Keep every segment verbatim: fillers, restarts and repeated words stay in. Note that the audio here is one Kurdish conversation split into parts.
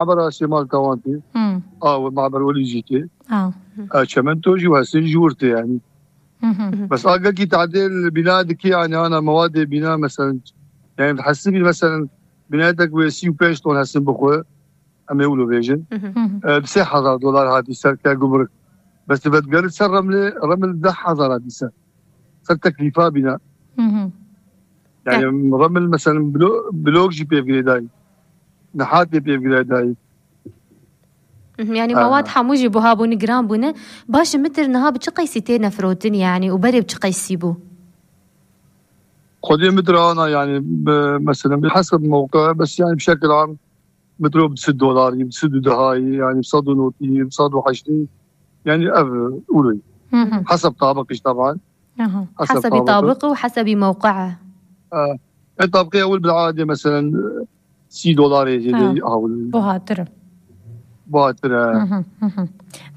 mabera Sêmalka wan tê. Hmm. A, we maber welî jî tê. A. A, Çemento jî û Hesin jî wir tê yani. Hı hı. Bes a gelkî tadê li bîna dikî yani ana mewadê bîna mesela, yani hesibî mesela bînayetek wê sî û pênc ton hesin bixwe, em ê wilo bêjin. Hı hı. Hı hı. E, bi sê hezar dolar hatî ser ke gumruk. Bes tu vedigerit ser Remlê, Reml deh hezar hatî ser. Ser teklîfa bîna. Hı hı. Yani Reml mesela blo-, blok jî pê girêdayî. Niha tê pê girêdayî. Mhm, yani Aha. mewad hemû jî buha bûne, giran bûne. Baş e, mitir niha bi çi qeysî têne firotin yani û berê bi çi qeysî bû? Xwedê mitir ana yani bi, mesela bi hesab mewqe, bes yani bi şekil am mitro bi sed dolarî, bi sed û dehayî, yani bi sed û notî, bi sed û heştî, yani ev ûlî. Hı hı. Hesab tabiq işte taban. Aha. Hesab Hesabî tabiq. tabiq û hesabî mewqe. E, e, tabiqê ewil bil adê mesela sî dolarê Ha. zêde ewil. Buhatir e. Buhatir e. Hı hı, hı hı.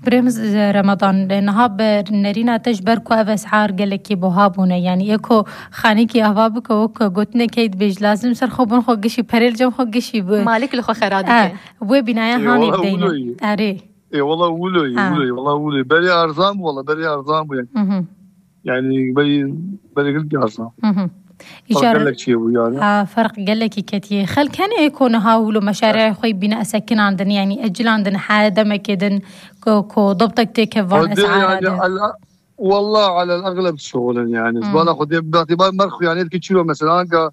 Birêmiz, e, Remadan, e, niha bi nerîna te ji ber ku ev esar gelekî buha bûne. Yani ê ku xanîkî ava bike, wek gotinê key dibêj, lazim ser xwe bin xwe gişî, perê li cem xwe gişî bi. Malik li xwe xera Ha, dike. wê bînaya Ê, hanê wala bideyne. wilo ye. Erê. Ê, wala wilo ye, Ha. wilo ye, wala wilo ye. Berê arzan bû, wala berê arzan bû yani. Hı hı. Yani berê, berê gelek arzan. Hı hı. Fark Îcar gelek çê bû yani. Ha, ferq gelekî ketiye. Xelk hene ê ku niha wilo meşarê xwe bîne esekinandin, yani ecilandin, he demekê din ku, ku dobtek têke van Xwedê esara yani de. ala-, Wallah alel egleb şixulin yani. Hmm. Bana xwedê bi itibar mer xwe yani ki çiro mesela anka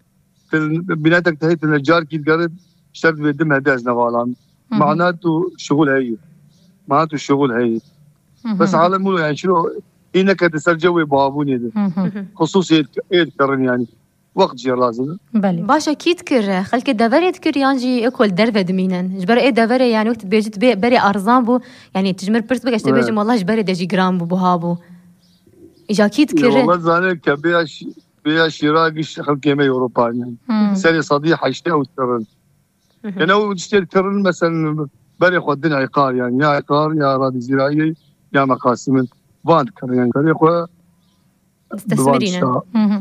til binatek tehê til necar ki digerit şert ve dim hede ez nevalan. Hı hı. Mana tu şixul heyî. Mana tu şixul heyî. Hı hı. Bes alem wilo yani çiro îne ke di ser cewê babûnê de. Hı hı. Xusûsî êd, êd kirin yani. Wext jê lazim e. Belê. Baş e, kî dikir? Xelkê deverê dikir yan jî ê ku li derve dimînin? Ji ber ê deverê, yani wek tu dibêjî tu bê-, berê arzan bû, yani tu ji min pirs bike, ez tê Evet. bêjim, wallah ji berê de jî giran bû, buha bû. Îja kî dikir? Ê, wallah zane ke bêya şî-, bêya şîra giş xelkê me Ewropa yani. Hmm. Serê sedî heştê ew dikirin. Hı hı. Yani ew tiştê dikirin, mesela berê xwe din Eyqar yani, ya Eyqar, ya Radî Zîrayê, ya Meqasimin. Van dikirin yani. Berê xwe Tesmirîne. Hı hı.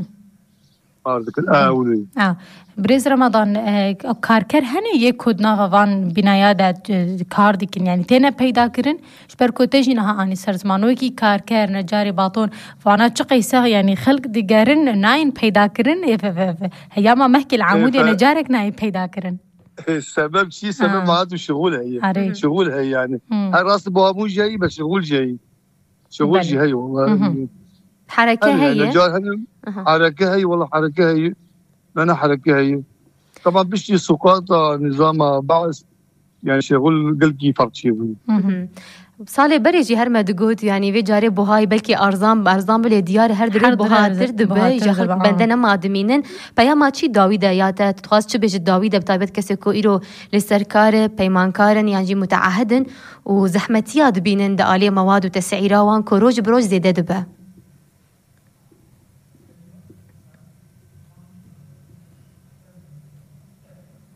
Kar dikin. A, wilo ye. A, Birêz Remadan, e, karker hene yê ku di nava van bînaya de, e, kar dikin, yani têne peyda kirin? Ji ber ku te jî niha anî ser ziman, wekî karker, necarê baton, vana çi qeyse, yani xelk digerin, nayên peyda kirin, ê ve, ve, ve. Heyama mehkê li Ê, Amûdê fe- necarek nayên peyda kirin. Ê, sebeb çi? Sebeb Ha. ma tu şixul heye. Arê. Şixul heye yani. Hmm. Her rast bu Amûd jî heye, be şixul jî heye. Şixul Belê. jî heye wala. Hı hı. Hereke Hene, heye? hene, car hene, Aha. hereke heye, wala hereke heye. Nana hereke heye. Tamam, piştî suqata nizama Baas, yani şixul gelkî farkçî bû. Hı hı. Hı hı. Salê berê jî her me digot, yani vê carê buhayî belkî arzan, arzan bilê diyar her dirê Her dire buhatir dibe, buhatir îja dibe, xelk ha. bende nema dimînin. Peyama çi dawî de ya te, tu dixwaz çi bêjit dawî de, bi taybet kesê ku îro li ser kar e, peymankar in yan jî muteahid in û zehmetiya dibînin di aliyê mewad û tesîra wan ku roj bi roj zêde dibe.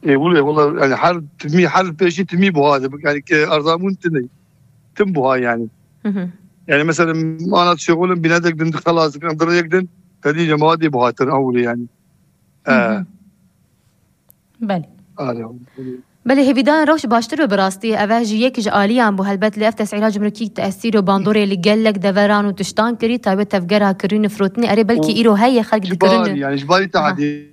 Ê, wile, wala, yani her timî, her pêşî timî buha dibe. Yani ke arzabûn tine. Tim buha yani. Hı hı. Yani mesela ana şixulin bînetek din xelas dikin, dirêk din, tedî cemaatê buhatir ewlê yani. Hı hı. E. Belê. Alo. Belê, hêvîdan rewş baştir be bi rastî. Ev e ji yek ji aliyan bû. Helbet lê ev tesîra cumrukî tesîr û bandorê li gelek deveran û tiştan kirî, taybet tevgera kirîn û firotinê. Erê, belkî Û îro heye xelk ji dikirin. bar, yani ji barî Aha. tadê.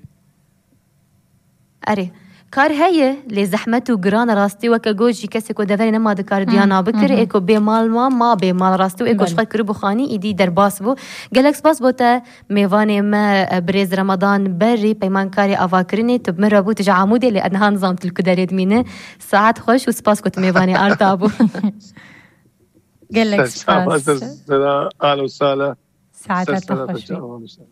Erê. Kar heye, lê zehmet û giran e rastî, weke got jî kesê ku deverê nema dikare Hı, diyana bikir, hı hı. ê ku bê mal ma, ma bê mal rastî û ê ku ji Belê. xwe kiribû xanî, îdî derbas bû. Gelek spas bo te, mêvanê me, e, birêz Remadan Berî, peymankarê avakirinê, tu bi min re bû, tu ji Amûdê, lê ez niha nizam tu li ku derê dimîne. Saet xweş û spas ku tu mêvanê Arta bû. Gelek Ser çava, spas. ser sera, alo sala. Saeta Ser te sera xweş te be. çava, ser.